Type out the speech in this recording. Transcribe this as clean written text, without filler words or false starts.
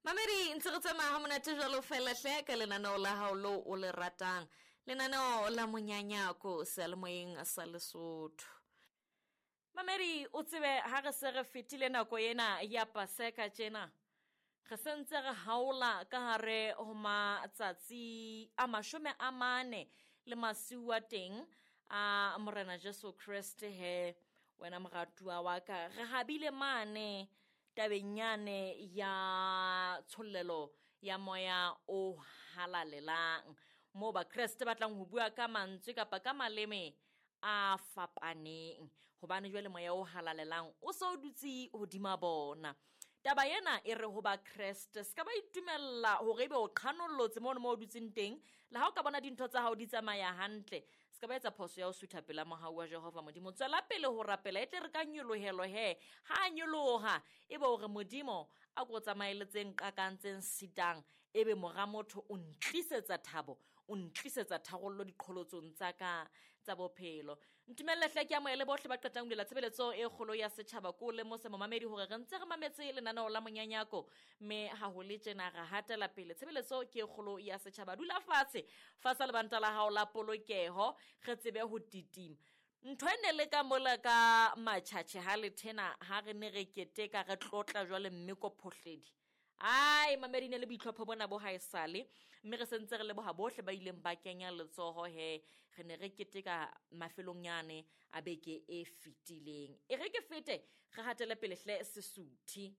Mamedi ntse re tsamaya ha monate jwalo fela hle ka lenaneo la hao leo o le ratang, lenaneo la Monyanyako seyalemoyeng sa Lesotho. Mamedi, o tsebe ha re se re fetile nako ena ya Paseka tjena, re sentse re haola ka hare ho matsatsi a 40 le masiu a teng a Morena Jesu Kreste. He wena moratuwa wa ka, re habile mane tabeng yane ya tshollelo ya moya o halalelang, moo Bakreste ba tlang ho bua ka mantswe kapa ka maleme a fapaneng, hobane jwale moya o halalelang o se o dutse hodima bona. Taba ena e re ho Bakreste, se ka ba itumella hore ebe o qhanollotse mono mo o dutseng teng, le ha o ka bona dintho tsa hao di tsamaya hantle, se ka ba etsa phoso ya ho sutha pela mohau wa Jehova Modimo. Tswela pele ho rapela, e tle re ka nyolohelo he ha a nyoloha, ebe hore Modimo a ko tsamaeletseng qakantseng sitang, ebe mora motho o ntlisetsa thabo, o ntlisetsa tharollo diqholotsong tsa ka tsa bophelo. Ntumelle hle ke amohele bohle ba qetang ho bulela tshebeletso e kgolo ya setjhaba. Ko lemose momamedi hore re ntse re mametse lenaneo la Monyanyako, mme ha ho le tjena re hatela pele. Tshebeletso ke e kgolo ya setjhaba. Dula fatshe, fasa lebanta la hao la polokeho, re tsebe ho titima. Ntho e ne le ka mola ka matjhatjhe ha le thena, ha re ne re keteka re tlotla jwale mme ko phohledi. Ai, mamedi, ne le boitlhopho bona bo haesale, mme re sentse re leboha bohle ba ileng ba kenya letsoho he re ne re keteka mafelong yane a beke e fetileng. E re ke fete re hatele pele hle Sesuthi.